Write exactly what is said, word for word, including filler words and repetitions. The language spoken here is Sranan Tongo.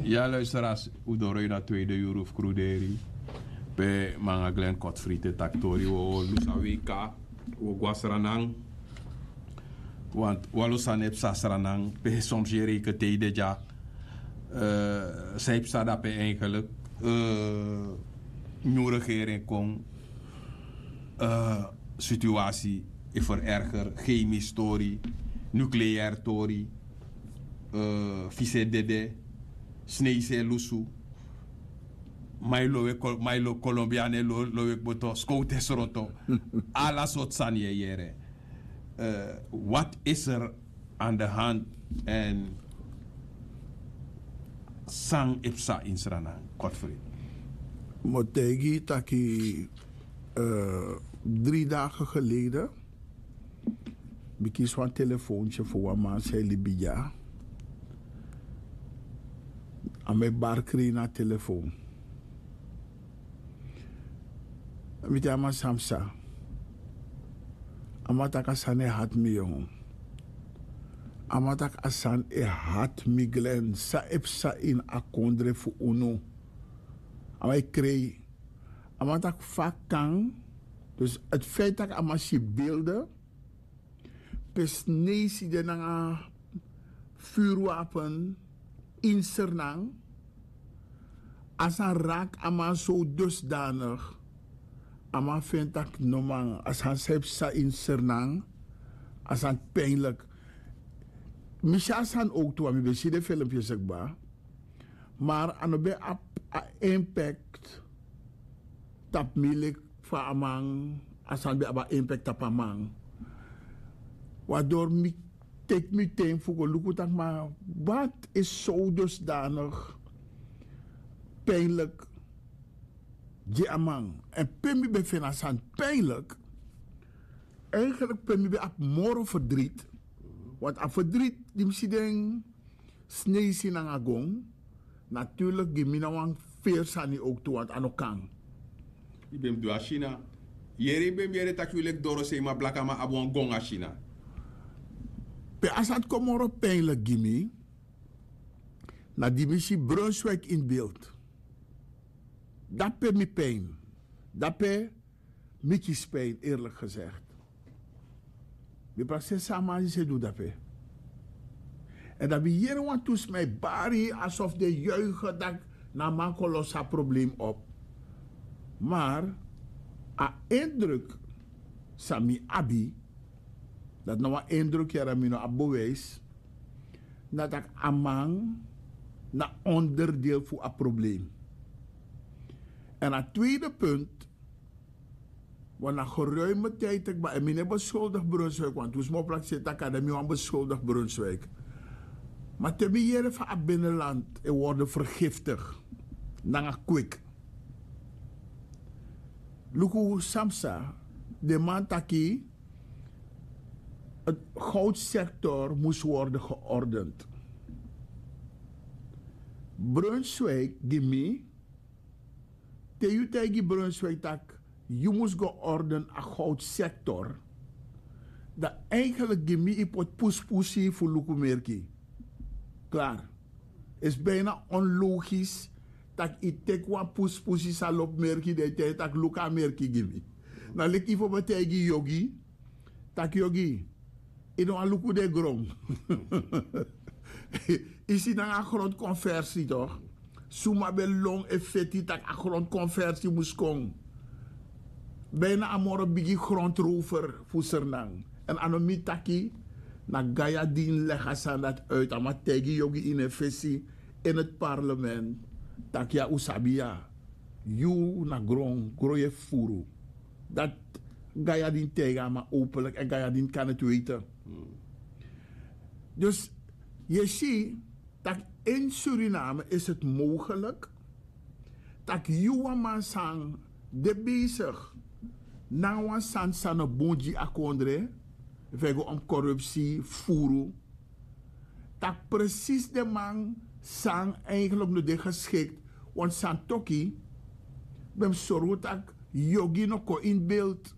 Ya luisteraars, u doro ini a tweede yuru fu kruderi. Pe manga Glen Kotfrite taktori wo lusa weka, wo gwasranan. Want walu sani e psa sranan pe soms yere ike tei de dya. San e psa dape eigenlijk? Nyun regering kon, situasi e vererger, chemisch tori, nucleair tori, fise dede, sneise lusu, mai lowe, kolombiane lowe kboto, skowte sroto. Ala sort sani e yere. Wat is er aan de hand? En san e psa in Sranan, Godfrey? Mo taigi taki, drie dagen geleden mi kisi wan telefoontye fu wan man san e libi dya. A mi e barkri na telefoon. Mi te a man san psa. A man taki a sani e hati mi yongu. A man taki a sani e hati mi glen san e psa ini a kondre fu unu. A man e krei. A man taki fa kan. Dus het feit taki a man si bilde pe sneisi de nanga furwapen ini Sranan. A sani raki a man so dusdanig. A man feni taki no man, a sani san e psa ini Sranan, a sani pijnlik. Mi si a sani owktu wan mi ben si den filmpi esi kba. Mar a no ben abi a impact tapu mi leki fa a man, a sani ben abi a impact tapu a man. Wador mi teki mi ten fu go luku taki ma wat is so dusdanig pijnlik gi a man. En pe mi ben feni a sani pijnlik, eigenlijk pe mi ben abi moro ferdriet. Want a ferdriet di mi si den sneisi nanga gong, natuurlik gi mi na wan feri sani owktu want a no kan. Yu ben mus du a sina. Yere yu ben mus yere taki yu leki dorosei ma blakaman abi wan gong a sina. Pe a sani kon moro pijnlik gi mi, na di mi si Brunswijk in beeld. Dape mi pijn. Dape mi kisi pijn, eerlijk gezegd. Mi prakseri san a man disi e du dape. En dan mi yere wantu sma e bari asof den yuige taki na a man kon losi a probleem op. Mar a indruk san mi abi, dati na wan indruk yara mi no abi bewijs, na taki a man na onderdeel fu a probleem. En a tweede punt, want na geruime tijd taki ba en mi no e beskuldig Brunswijk want wi sma o prakseri taki a de mi wan beskuldig Brunswijk. Ma te mi yere fa a binnenland e worden vergiftig nanga kwik. Luku san psa, den man taki het goudsector moest worden geordend. Brunswijk gi mi, te yu taigi Brunswijk taki yu mus go orden a goudsector, dan eigenlijk gi mi yu poti puspusi fu luku merki. Klaar. Is bijna onlogisch taki yu teki wan puspusi san lobi merki dan yu taigi taki luku a merki gi mi. Na leki yu fu ben taigi yogi taki yogi, yu no wani luku den gron. Yu si nanga a grondkonversi tok. Suma ben lon e feti tak' a grondkonversi mus kon. Bijna a moro bigi grondrover fu Sranan. Èn a no mi taki, na Gayadin legi a sani dati uit, a man taigi yogi ini en fesi, ini het parlement, tak' ya un sabi ya, yu na gron gron yu e fufuru. Dati Gayadin taigi a man openlik èn Gayadin kan het weten. Dus yu e si tak' in Suriname is het mogelik tak' yu wan man san de besig nanga wan sani san no bun gi a kondre, efu e go om korupsi furu, tak' presis den man san eigenlijk no de geschikt. Want san toki ben mus sorgu tak' yogi no kon in beeld.